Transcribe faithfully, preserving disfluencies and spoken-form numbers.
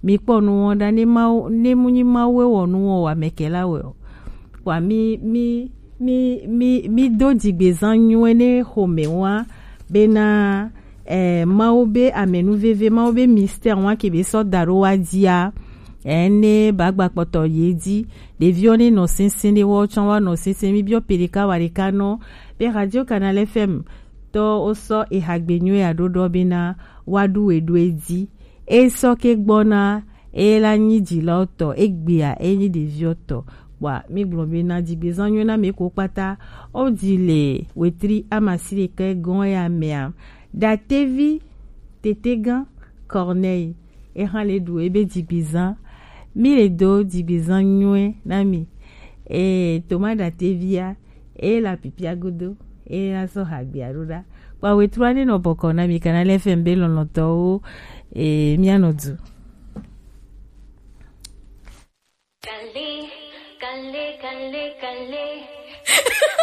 Mi kpɔ nu wɔn ɖa, ne Mawu, ne mu nyi Mawu e wɔ nu wɔn o, amɛkɛla wɛ o. Wa mi, mi, mi, mi, mi do dzigbezan nyuie ne xomɛ wa bena, eh, Mawu be amɛnuveve, Mawu be mystère wa ke be sɔ da ɖo wa dzia, eh, ne ba gba kpɔtɔ ye dzi. Ɖeviwo ne nɔ sɛnsɛn ɖe wɔ tsɔ wa nɔ sɛnsɛn, mi biɔ pe ɖeka wa ɖeka nɔ be Radio Canal F M tɔ wo sɔ eha gbe nyuie ya ɖo ɖɔ bena wa ɖu we ɖo edzi. E sɔ ke gbɔna, e la nyi dzilawo tɔ, egbea e nyi ɖeviwo tɔ. Wa mi gblɔ bena dzigbezan nyuie na mi ko kpata. O di le wetri amasi ɖeka gɔn ya mea. Datevi tetegan Corneille, e hã le ɖu ebe dzigbezan. Mi le do dzigbezan nyuie na mi. E Thomas Datevia, e la pipia godo, e la sɔ ha gbea ɖo ɖa. Kpa wetru ane nɔ bɔkɔ na mi kana le F M be lɔlɔtɔwo, e mia nɔ du. Kale, kale, kale, kale.